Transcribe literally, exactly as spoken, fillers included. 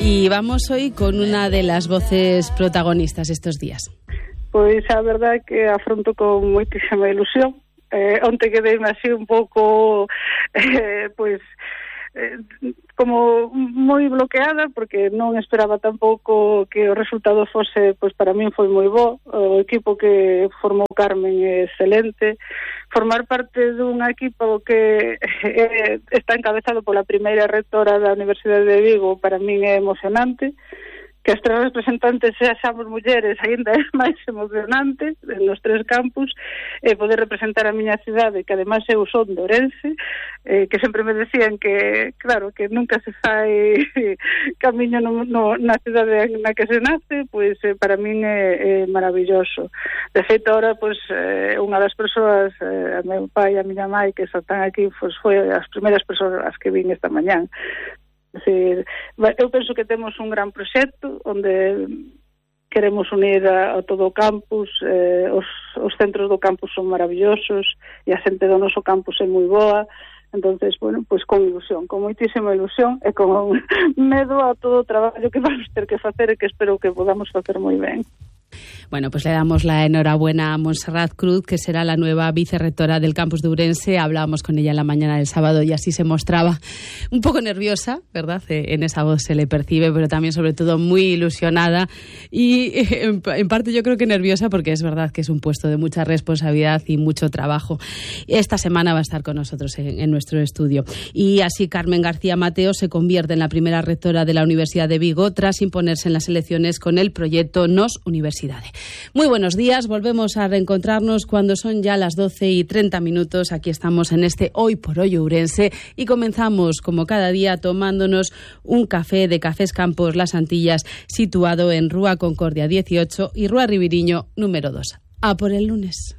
Y vamos hoy con una de las voces protagonistas estos días. Pois a verdade é que afronto con moitísima ilusión. Eh, onte quedei así un pouco eh, pois eh, como moi bloqueada, porque non esperaba tampouco que o resultado fose, pois para min foi moi bo. O equipo que formou Carmen é excelente. Formar parte dun equipo que eh, está encabezado pola primeira rectora da Universidade de Vigo para min é emocionante. Que as tres representantes seamos mulleres aínda é máis emocionante nos tres campus, e eh, poder representar a miña cidade, que ademais eu son de Ourense, eh, que sempre me decían que, claro, que nunca se fai camiño no, no, na cidade na que se nace, pois eh, para min é, é maravilloso. De feito, ahora, pois, eh, unha das persoas, eh, a meu pai e a miña mãe, que están aquí, pois, foi as primeiras persoas as que vin esta mañán. Decir, eu penso que temos un gran proxecto onde queremos unir a, a todo o campus, eh, os, os centros do campus son maravillosos e a xente do noso campus é moi boa. Entonces, bueno, pois con ilusión, con moitísima ilusión e con medo a todo o traballo que vamos ter que facer e que espero que podamos facer moi ben. Bueno, pues le damos la enhorabuena a Montserrat Cruz, que será la nueva vicerrectora del campus de Ourense. Hablábamos con ella en la mañana del sábado y así se mostraba un poco nerviosa, ¿verdad? En esa voz se le percibe, pero también sobre todo muy ilusionada y en, en parte yo creo que nerviosa, porque es verdad que es un puesto de mucha responsabilidad y mucho trabajo. Esta semana va a estar con nosotros en, en nuestro estudio. Y así Carmen García Mateo se convierte en la primera rectora de la Universidad de Vigo tras imponerse en las elecciones con el proyecto Nos Universidade. Muy buenos días, volvemos a reencontrarnos cuando son ya las doce y treinta minutos. Aquí estamos en este Hoy por Hoy Ourense y comenzamos como cada día tomándonos un café de Cafés Campos Las Antillas, situado en Rúa Concordia dieciocho y Rúa Ribiriño número dos. A por el lunes.